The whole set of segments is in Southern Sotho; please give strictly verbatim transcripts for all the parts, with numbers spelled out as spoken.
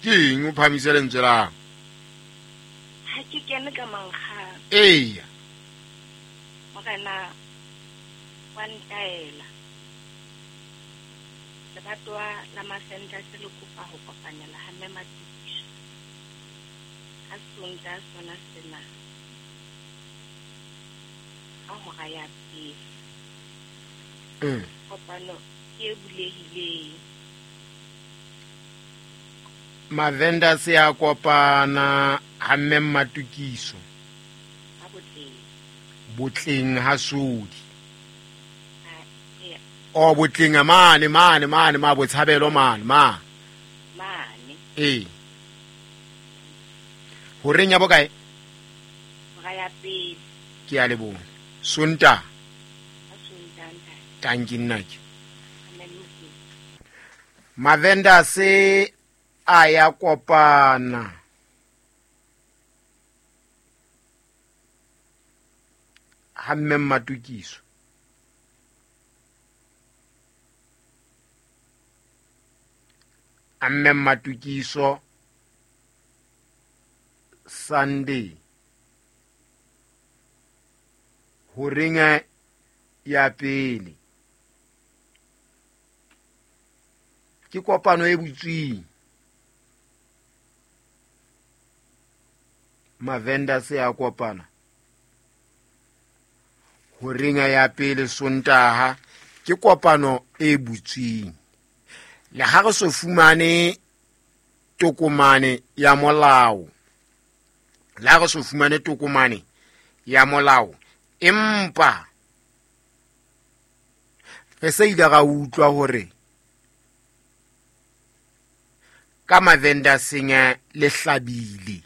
Ke eng o phamise lentswe la? Ha ke kene ka mankgang. Eya. Morena wa ntaela. Lebatowa la Mavendase le kopa ho kopanela ha Mme Matukiso. Ka Sontaha sona sena. Ka hora ya pele. Mm. Kopano ke e bulehileng. Mavendase a kopana ha Mme Matukiso. Ka Botleng. Botleng ha Sodi. Ha, eya. O Botleng mane mane mane ma Botshabelo mane ma. Mane. Ee. Horeng ya bokae? Hora ya pele. Ke a leboha. Sontaha. Ka Sontaha ntate. Tanki nna ke. Amen. Mavendase a ya kopana. Ha Mme Matukiso. A Mme Matukiso Sunday. Horeng ya pele. Ke kopano e butsweng. Mavendase a kopana. Horeng ya pele Sontaha ke kopano e butsweng. Le ha re so fumane tokomane ya molao. Le ha re so fumane tokomane ya molao. Empa re se ile ra utlwa hore ka Mavendaseng le hlabile.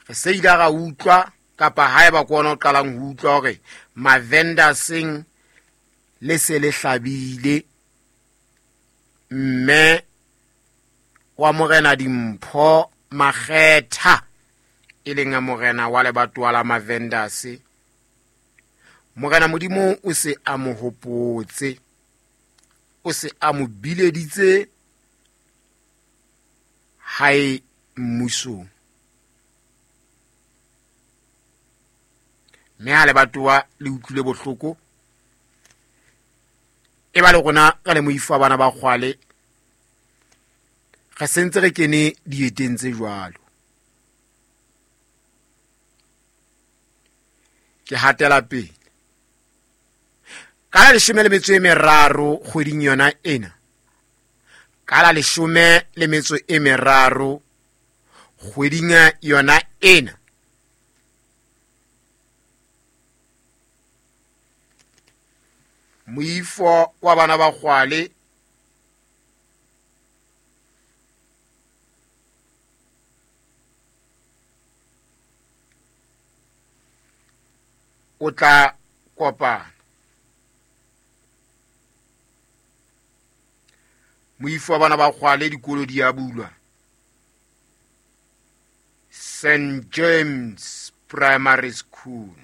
Re se ile ra utlwa kapa haeba ke ona o qalang ho utlwa hore Mavendaseng le se le hlabile. Mme wa Morena Dimpho Makgetha e leng morena wa lebatowa la Mavendase, Morena Modimo o se a mo hopotse, o se a mo bileditse hae mmusong. Mme ha lebatowa le utlwile bohloko, e ba le rona re le moifo wa bana ba kgwale, re sentse re kene dieteng tse jwalo. Ke hatela pele. Ka la leshome le metso e meraro kgweding yona ena. Ka la leshome le metso e meraro kgweding yona ena. Moifo wa bana ba kgwale o tla kopana. Moifo wa bana ba kgwale dikolo di a bulwa. Saint James Primary School.